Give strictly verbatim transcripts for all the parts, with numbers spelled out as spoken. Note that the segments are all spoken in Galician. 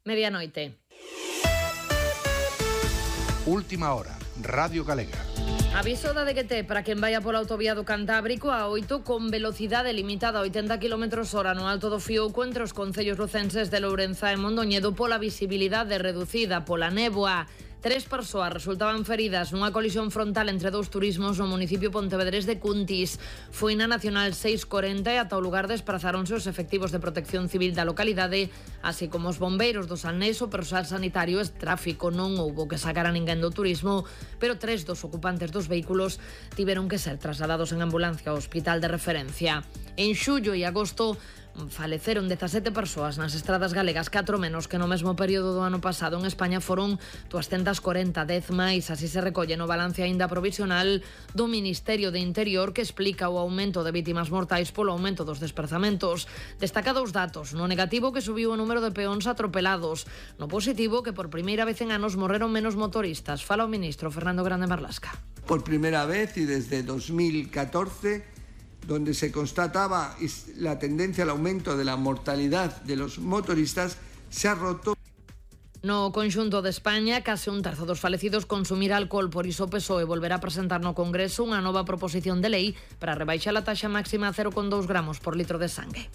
Medianoite. Última hora, Radio Galega. Aviso da D G T para quen vaya pola autovía do Cantábrico a oito con velocidade limitada a oitenta kilómetros hora no Alto do Fiouco entre os concellos lucenses de Lourenza e Mondoñedo pola visibilidade reducida pola néboa. Tres persoas resultaban feridas nunha colisión frontal entre dous turismos no municipio pontevedrés de Cuntis. Foi na Nacional seiscentos corenta e ata o lugar desprazáronse os efectivos de protección civil da localidade, así como os bombeiros do Salnés, o persoal sanitario e tráfico. Non houbo que sacar a ninguén do turismo, pero tres dos ocupantes dos vehículos tiveron que ser trasladados en ambulancia ao hospital de referencia. En xullo e agosto faleceron dezasete persoas nas estradas galegas, catro menos que no mesmo período do ano pasado. En España foron doscientos corenta, dez máis, así se recolle no balance aínda provisional do Ministerio de Interior, que explica o aumento de vítimas mortais polo aumento dos desprazamentos. Destaca dous datos: no negativo, que subiu o número de peóns atropelados; no positivo, que por primeira vez en anos morreron menos motoristas. Fala o ministro Fernando Grande Marlasca. Por primeira vez y desde dos mil catorce, donde se constataba la tendencia al aumento de la mortalidad de los motoristas, se ha roto. No conxunto de España, case un terzo dos falecidos consumir alcohol. Por iso o P S O E volverá a presentar no Congreso unha nova proposición de lei para rebaixar a taxa máxima a cero coma dous gramos por litro de sangue.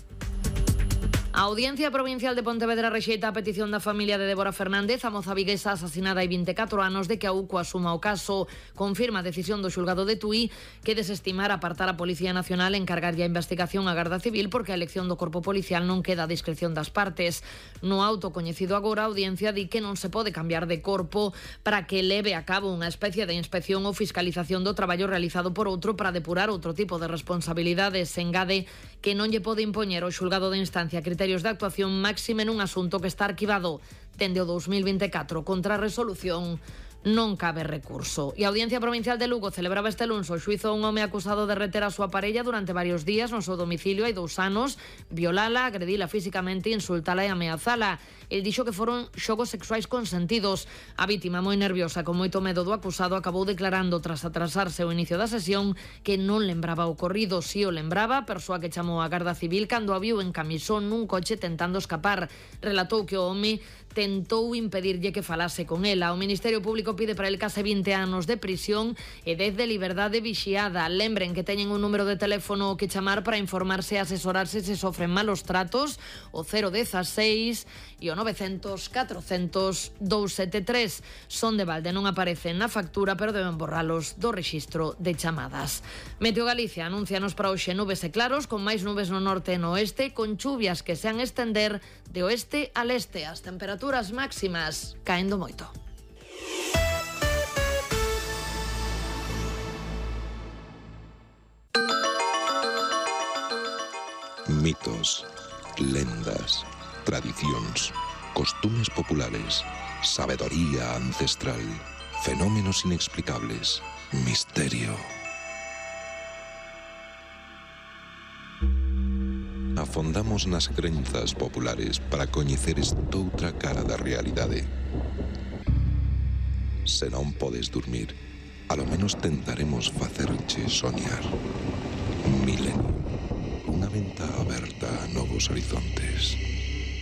A Audiencia Provincial de Pontevedra rexeita a petición da familia de Débora Fernández, a moza viguesa asasinada hai vinte e catro anos, de que a U C O asuma o caso. Confirma a decisión do xulgado de Tui, que desestimar apartar a Policía Nacional e encargarlle a investigación á Garda Civil, porque a elección do corpo policial non queda a discreción das partes. No auto coñecido agora, a Audiencia di que non se pode cambiar de corpo para que leve a cabo unha especie de inspección ou fiscalización do traballo realizado por outro para depurar outro tipo de responsabilidades. Se engade que non lle pode impoñer o xulgado de instancia criterios de actuación máxima nun asunto que está arquivado dende o dous mil vinte e catro. Contra a resolución non cabe recurso. E a Audiencia Provincial de Lugo celebraba este luns o xuizo a un home acusado de reter a súa parella durante varios días no seu domicilio hai dous anos, violala, agredila físicamente, insultala e ameazala. El dixo que foron xogos sexuais consentidos. A vítima, moi nerviosa, con moito medo do acusado, acabou declarando, tras atrasarse o inicio da sesión, que non lembraba o ocorrido. Si o lembraba, persoa que chamou a Garda Civil cando a viu en camisón nun coche tentando escapar. Relatou que o home tentou impedirlle que falase con ela. O Ministerio Público pide para el case vinte anos de prisión e dez de liberdade vixiada. Lembren que teñen un número de teléfono que chamar para informarse e asesorarse se sofren malos tratos, o cero dezasseis e o novecentos, catrocentos, doscientos setenta e tres. Son de balde, non aparecen na factura, pero deben borralos do rexistro de chamadas. Meteo Galicia anuncianos para hoxe nubes e claros, con máis nubes no norte e no oeste, con chuvias que se han estender de oeste a leste. As temperaturas máximas caendo moito. Mitos, lendas, tradicións, costumes populares, sabedoría ancestral, fenómenos inexplicables, misterio. Afondamos nas crenzas populares para coñecer estoutra cara da realidade. Se non podes dormir, alo menos tentaremos facerche soñar. Milenio. Unha venta aberta a novos horizontes.